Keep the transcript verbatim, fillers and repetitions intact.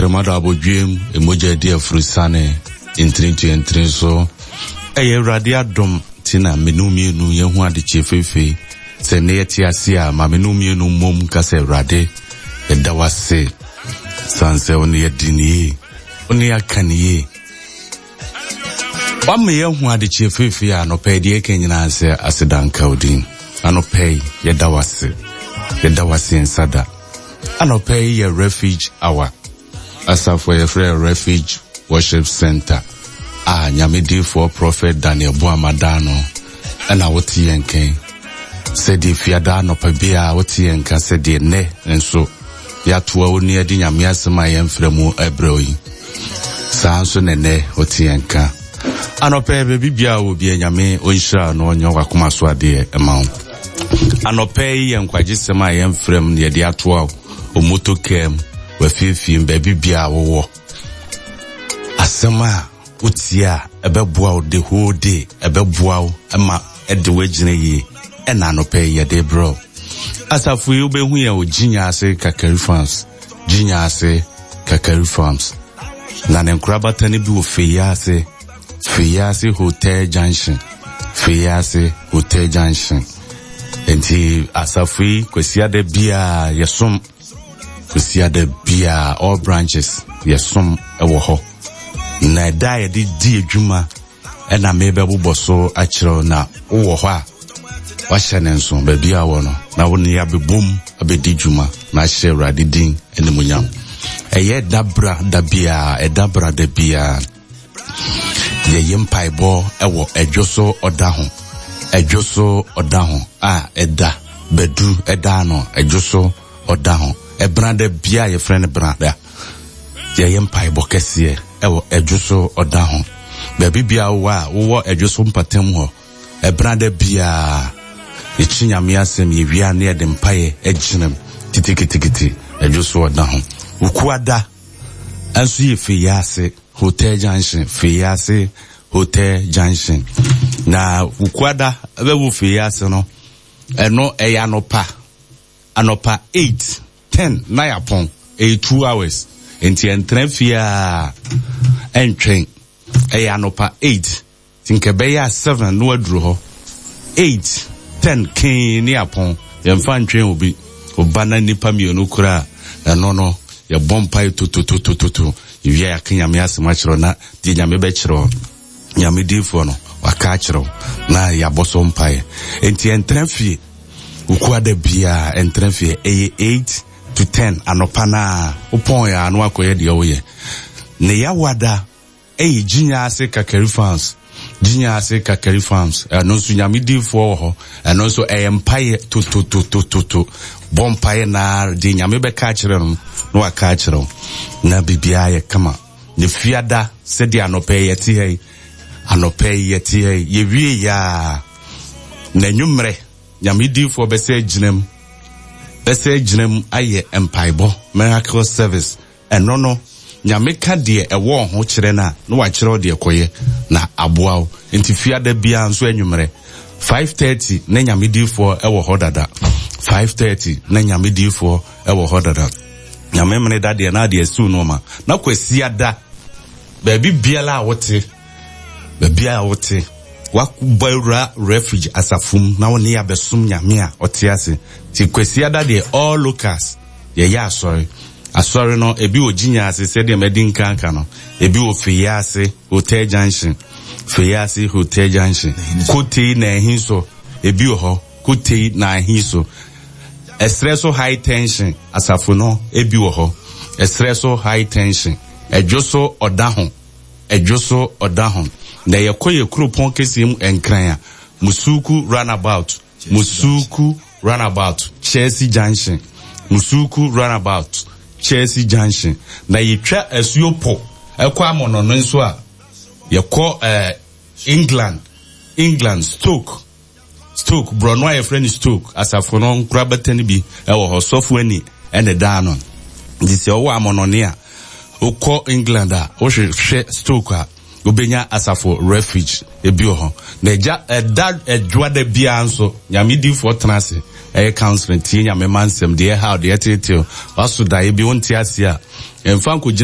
Tɛkrɛma da abɔdwiem, emogya adi afurusane, ntiri ntua ntiri so. Ɛyɛ Awurade adom ti na menu mmienu yɛn ho adekye feefee. Sɛ ne yɛte ase a, ma menu mmienu mmom ka sɛ Awurade, yɛda wo ase. San sɛ wo ne yɛdi ne yie, wo ne yɛaka ne yie. Wama yɛahu adekye feefee a anɔpa yi deɛ ɛka nyinaa sɛ aseda nka wo din. Anɔpa yi, yɛda wo ase. Yɛda wo ase nsa da. Anɔpa yi yɛ Refuge Hour. Asafo a yɛfrɛ Refuge Worship Center a Nyame diifoɔ Prophet Daniel Boamah da no ɛna wote yɛn nkan. Sɛdeɛ fiada anɔpa biara wote yɛn nka, sɛdeɛ nnɛ nso yɛatoa wo ne yɛde Nyame asɛm a yɛmfrɛ mu ɛbrɛ yi. Saa nso na nnɛ wote yɛn nka. Anɔpa yi, baabi biara wɔ bia, Nyame ɔnhyira no, ɔnyɛ wakoma so adeɛ ɛma wo. Anɔpa yi yɛ nkwagyesɛm a yɛmfrɛ mu na yɛde atoa wo moto kaa mu, wafiefie mu, baabi biara wowɔ. Asɛm a wotie a ɛbɛboa wo the whole day, ɛbɛboa wo ma ɛde woagyina yie, ɛna anɔpa yi yɛde brɛ wo. Asafo yi, wobɛhu yɛn wɔ Gyinya ase Kakari Farms, Gyinya ase Kakari Farms. Na ne nkorabata no bi wɔ Feyiase, Feyiase Hotel Junction, Feyiase Hotel Junction. Nti asafo yi, Kwasiada biara yɛsom, Kwasiada biara all branches yɛsom ɛwɔ hɔ. Na ɛda a yɛde di adwuma ɛna mebɛbobɔ so akyerɛw, na wowɔ hɔ a wahyɛ ne nso baabi a wɔ no na wo ne abɛbom abɛdi dwuma na ahyɛ Awurade din animuonyam. Ɛyɛ da bra da biara, ɛda bra da biara yɛyɛ mpaebɔ ɛwɔ ɛdwo so ɔda ho, ɛdwo so ɔda ho a ɛda bɛdu ɛda no, ɛdwo so ɔda ho ɛbra da biara yɛfrɛ no bra da, yɛyɛ mpaebɔ kɛseɛ ɛwɔ ɛdwo so ɔda ho. Baabi biara wowɔ a wowɔ ɛdwo so mpatam hɔ, ɛbra da biara yɛkyi Nyame asɛm, yɛwia ne yɛde mpaeɛ agyinam kitikitikiti ɛdwo so ɔda ho. Wukuada ɛnso yɛ Feyiase Hotel Junction, Feyiase Hotel Junction. Na Wukuada ɛbɛwɔ Feyiase no, ɛno ɛyɛ anɔpa anɔpa eight ten na yɛapɔn, ɛyɛ two hours nti ɛntena fie a ɛntwɛn. Ɛyɛ anɔpa eight nti nka ɛbɛyɛ a seven na waduru hɔ. Eight ten kee ne apɔn, yɛmfa ntwɛn obi. Ɔba na nipa mmienu koraa, ɛno no yɛbɔ mpae tototototo, yɛwia yɛaka Nyame asɛm akyerɛw, na deɛ Nyame bɛkyerɛw Nyame diifoɔ no waka akyerɛw na yɛabɔ so mpae. Nti ɛntena fie Wukuada biara, ɛntena fie. Ɛyɛ eight to ten anɔpa na wopɔn yɛ ano akɔyɛ deɛ woyɛ. Ne Yawada ɛyɛ Gyinya ase Kakari Farms, Gyinya ase Kakari Farms. Ɛno nso Nyame diifoɔ wɔ hɔ, ɛno nso ɛyɛ mpaeɛ tototototo, bɔ mpaeɛ na deɛ Nyame bɛka akyerɛ no na waka akyerɛ wo na biribiara yɛ kama. Ne fiada, sɛdeɛ anɔpa yi yɛte ha yi, anɔpa yi yɛte ha yi, yɛwie yaa na anwummerɛ Nyame diifoɔ bɛsɛ gyinam, bɛsɛ gyinam ayɛ mpaebɔ miracle service. Ɛno no Nyame ka deɛ ɛwɔ ho kyerɛ no a na wakyerɛ wo deɛ kɔyɛ na aboa wo. Nti fiada biara nso anwummerɛ five thirty na Nyame diifoɔ ɛwɔ hɔ dada, five thirty na Nyame diifoɔ ɛwɔ hɔ dada. Nyame mene da deɛ na adeɛ asiw nneɛma. Na Kwasiada, baabi biara a wote, baabi a wote, wakɔbɔ awura Refuge asafo mu na wo ne yɛabɛsom Nyame a ɔte ase. Nti Kwasiada deɛ all locals yɛyɛ asɔre. Asɔre no ebi wɔ Gyinya ase sɛdeɛ madi nkanka no, ebi wɔ Feyiase Hotel Junction, Feyiase Hotel Junction, Kotei na ɛhi so, ebi wɔ hɔ Kotei na ɛhi so. Ɛserɛ so High Tension asafo no ebi wɔ hɔ, ɛserɛ so High Tension, ɛdwo so ɔda ho, ɛdwo so ɔda ho. Na yɛkɔ yɛ kuropɔn kɛseɛ mu Nkran a, Musuku Runabout, Musuku Runabout, Chelsea Junction, Musuku Runabout, Chelsea Junction. Na yɛtwa asuo po ɛkɔ Amɔnɔ no nso a, yɛkɔ ɛɛ England, England Stoke, Stoke borɔno a yɛfrɛ no Stoke asafo no nkorabata no bi ɛwɔ hɔ. Sɔfo ani ɛna daa no. Nti sɛ ɔwɔ amɔnɔne a wokɔ England a wohwehwɛ Stoke a, wobɛnya asafo Refuge ebi wɔ hɔ. Na ɛgya ɛda ɛdwoada biara nso Nyame diifoɔ tena ase ɛyɛ counseling, tie Nyame ma nsɛm deɛ ɛha deɛ ɛtetew waso daeɛ bi wonte ase a ɛmfa nkɔgyina.